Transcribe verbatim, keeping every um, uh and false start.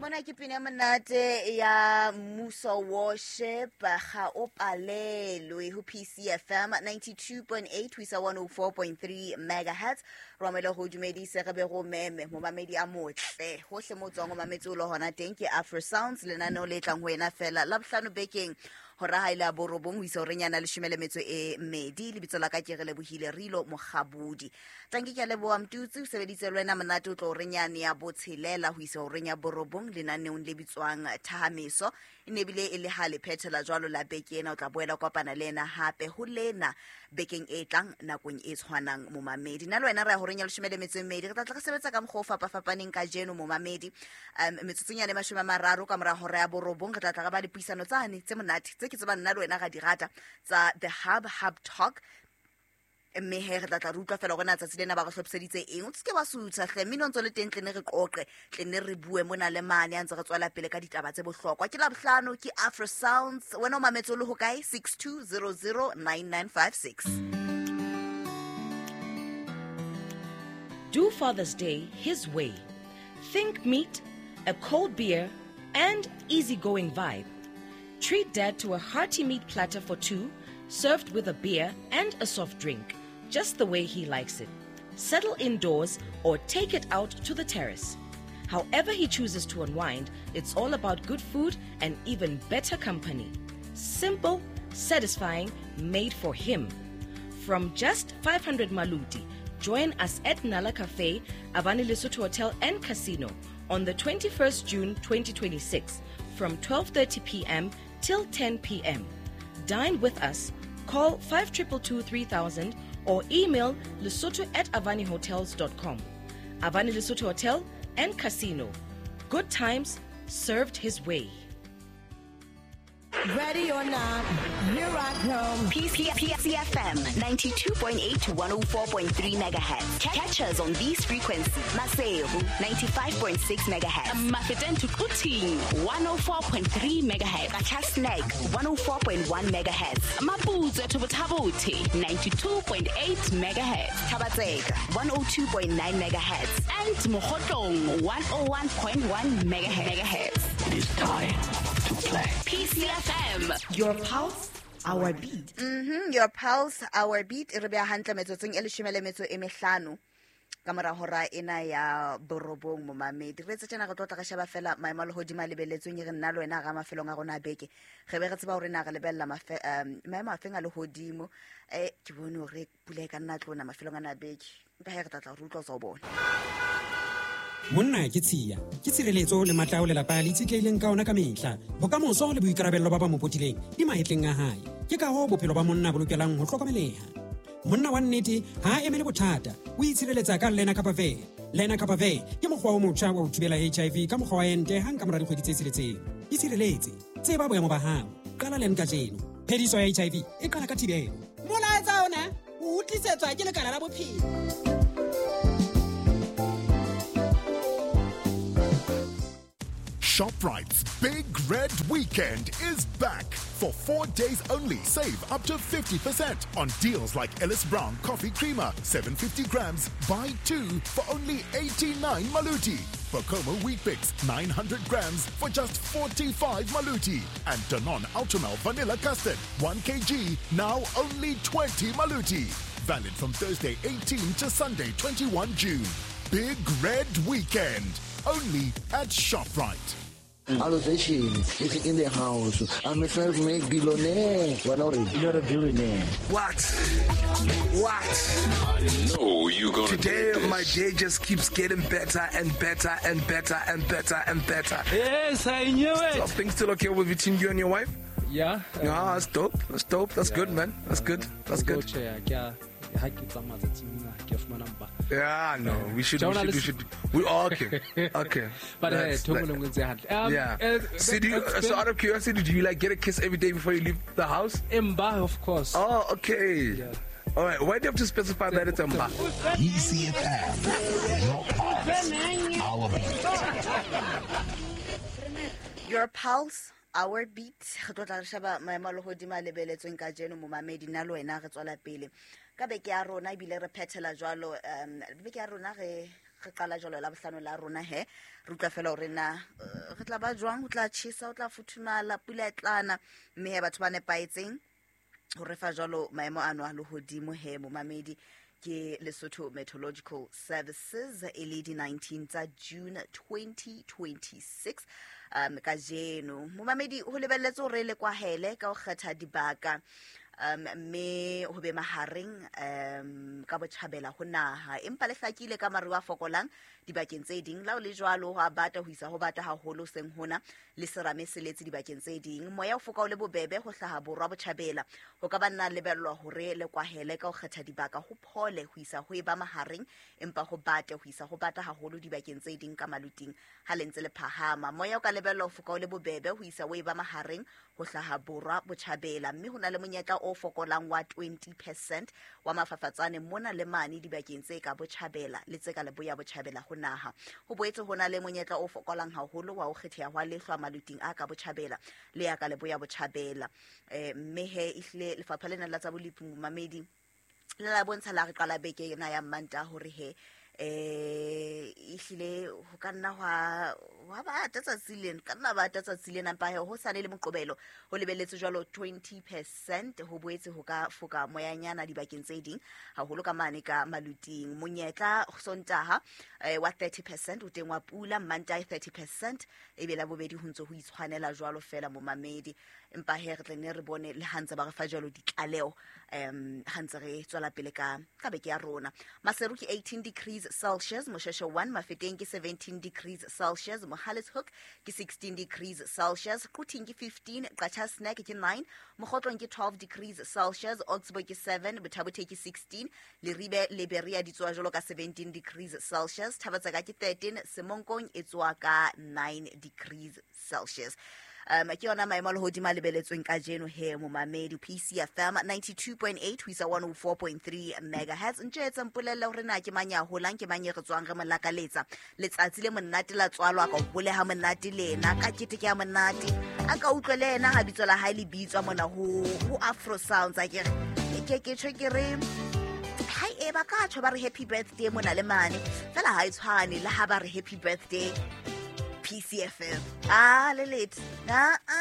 Mona ke pina monate ya Muso Worship ga o palelwe ho P C F M ninety-two point eight ho isa one oh four point three megahertz. Ro amela ho dumedise re be go meme momamedi a motle hohle mo tswang o mametse o le hona teng ke Afro Sounds lenaneo le tlang ho wena fela la bohlano bekeng hora ha ile a borobong ho isa horeng ya leshome le metso e mmedi. Lebitso la ka ke re lebohile Rilo Mokgabudi. Tanki ke a leboha Mtutsi o sebeditse le wena monate o tlo horeng yane ya botshelela ho isa horeng ya borobong lenaneong le bitswang Thahameso. E ne bile e le ha le phethela jwalo la beke ena, o tla boela kopana le ena hape ho lena bekeng e tlang nakong e tshwanang momamedi. Nna le wena re ya horeng ya leshome le metso e mmedi, re tla tla re sebetsa ka mokgwa o fapafapaneng kajeno momamedi. Um metsotsong ya mashome a mararo ka mora hora ya borobong re tla tla re ba le puisano tsane tse monate tse ke tsebang nna le wena ga di rata tsa The Hub Hub Talk. Mme he re tla tla re utlwa fela gore na tsatsi lena ba re hlophiseditse eng. O se ke wa sutha hle, mmino ntse le teng tle ne re qoqe, tle ne re bue mona le mane a ntse re tswela pele ka ditaba tse bohlokwa. Ke Labohlano, ke Afro Sounds. Wena o mametse o le ho kae? six two zero zero nine nine five six. Do Father's Day his way. Think meat, a cold beer, and easygoing vibe. Treat Dad to a hearty meat platter for two, served with a beer and a soft drink, just the way he likes it. Settle indoors or take it out to the terrace. However he chooses to unwind, it's all about good food and even better company. Simple, satisfying, made for him. From just five hundred Maluti, join us at Nala Cafe, Avani Lesotho Hotel and Casino on the twenty-first June twenty twenty-six from twelve thirty p.m. till ten p.m. Dine with us. Call five two two two three thousand or email lesotho at avani hotels dot com. Avani Lesotho Hotel and Casino. Good times served his way. Ready or not, here I come. P C F M ninety-two point eight to one oh four point three megahertz. Catch us on these frequencies. Maseru ninety-five point six megahertz. Mafeteng to Quthing one oh four point three megahertz. Qacha's Nek one oh four point one megahertz. Maputswe to Botha-Bothe ninety-two point eight megahertz. Thaba-Tseka one oh two point nine megahertz. And Mokhotlong one oh one point one megahertz. It is time to play. P C F M. Your pulse, our beat. Mm-hmm. Your pulse, our beat. E re beha hantle metsotsong e leshome le metso e mehlano ka mora hora ena ya borobong momamedi. Re tse tjena re tlo tla re sheba fela maemo a lehodimo a lebeletsweng e re nna le wena ga mafelong a rona a beke. Re be re tseba hore na re lebella mafe um maemo a feng a lehodimo. Eh ke bone hore pula e ka nna tlona mafelong ana a beke. Empa he re tla tla re utlwa tsa o bona. Monna ke tshiya, ke tshireletso le matla ao lelapa le itshetlehileng ka ona ka mehla. Bokamoso le boikarabello ba ba mo potileng di mahetleng a hae. Ke ka hoo bophelo ba monna bo lokelang ho hlokomeleha. Monna wa nnete ha a emele bothata, o itshireletsa ka Lenacapavir. Lenacapavir ke mokgwa o motjha wa ho thibela H I V ka mokgwa wa ente hang ka mora dikgwedi tse tsheletseng. Itshireletse, tseba boemo ba hao. Qala len kajeno. Phediso ya H I V e qala ka thibelo. Molaetsa ona o tlisetswa ke lekala la bophelo. ShopRite's Big Red Weekend is back. For four days only, save up to fifty percent on deals like Ellis Brown Coffee Creamer, seven hundred fifty grams, buy two for only eighty-nine Maluti. Bokomo Wheat Bix, nine hundred grams for just forty-five Maluti. And Danone Ultramel Vanilla Custard, one kilogram, now only twenty Maluti. Valid from Thursday eighteenth to Sunday twenty-first June. Big Red Weekend, only at ShopRite. Allocation is in the house. I'm a self-made billionaire. What are you? You're a billionaire. What? What? I know you're gonna Today, do this. My day just keeps getting better and better and better and better and better. Yes, I knew it. So, things still okay with between you and your wife? Yeah. Um, yeah, that's dope. That's dope. That's yeah, good, man. That's good. That's good. Yeah, no, we should, we should, we should, we all okay, okay. But uh, um, yeah. Uh, so, do you, so out of curiosity, do you like get a kiss every day before you leave the house? Mba, of course. Oh, okay. Yeah. All right. Why do you have to specify that it's Mba? E C F M, your pulse, our beat. Your pulse, our beat. Re tlo tla re sheba maemo a lehodimo a lebeletsweng kajeno momamedi nna le wena re tswela pele ka beke ya rona ebile re phethela jwalo. Um beke ya rona re Re qala jwalo la bohlano la rona he re utlwa fela hore na re tla ba jwang, ho tla tjhesa, ho tla futhumala, pula e tlana, mme he batho ba nepahetseng ho re fa jwalo maemo ano a lehodimo he momamedi ke Lesotho Meteorological Services e le di nineteen tsa June twenty twenty-six. Um kajeno momamedi ho lebelletse hore le kwahele ka ho kgetha dibaka um mme ho be mahareng um ka botjhabela ho naha, empa le hlakile ka maru a fokolang dibakeng tse ding. La o le jwalo ho a bata ho isa ho bata haholo seng hona le serame se letse dibakeng tse ding. Moya o foka o le bobebe ho hlaha borwa botjhabela, ho ka ba nna lebellwa hore le kwahele ka ho kgetha dibaka, ho phole ho isa ho eba mahareng, empa ho bate ho isa ho bata haholo dibakeng tse ding ka maluting ha le ntse le phahama. Moya o ka lebellwa ho foka o le bobebe ho isa ho eba mahareng ho hlaha borwa botjhabela, mme ho na le monyetla o fokolang wa twenty percent wa mafafatsane mona le mane dibakeng tse ka botjhabela le tse ka leboya botjhabela ho naha. Ho boetse ho na le monyetla o fokolang haholo wa ho kgetheha hwa lehlwa maluting a ka botjhabela le ya ka leboya botjhabela. Eh mme he ehlile lefapha lena la tsa bolepi momamedi le la bontsha la re qala beke ena ya Manta hore he eh ehlile ho ka nna hwa wa ba tsatsi lena ka nna ba tsatsi lena mpa he ho sane le moqobelo ho lebelletse jwalo twenty percent. Ho boetse ho ka foka moyanyana dibakeng tse ding haholo ka mane ka maluting. Monyetla Sontaha eh, wa thirty percent o teng wa pula, Manta thirty percent ebe la bobedi ho ntse ho itshwanela jwalo fela momamedi. Empa he re tle ne re bone le ha ntse ba re fa jwalo ditlaleho um ha ntse re tswela pele ka ka beke ya rona. Maseru ke eighteen degrees Celsius, Mosheshe one, Mafeteng ke seventeen degrees Celsius, Mohale's Hoek ke sixteen degrees Celsius, Quthing ke fifteen, Qacha's Nek ke nine, Mokhotlong ke twelve degrees Celsius, Oxbow ke seven, Botha-Bothe ke sixteen, Leribe le Berea di tswa jwalo ka seventeen degrees Celsius, Thaba-Tseka ke thirteen, Semonkong e tswa ka nine degrees Celsius. Um ke yona maemo a lehodimo a lebeletsweng kajeno he momamedi. P C F M ninety-two point eight ho isa one oh four point three megahertz. Ntjetse mpolelle hore na ke mang ya holang, ke mang e re tswang re mo lakaletsa letsatsi le monate la tswalwa ka hole ha monate lena ka keteke ya monate a ka utlwe le yena ha bitso la hae le bitswa mona ho ho Afro Sounds. A ke ke ke tjho ke re hai e ba ka tjho ba re happy birthday mona le mane fela ha e tshwane le ha ba re happy birthday P C F M. Ah, le late. Ah, ah.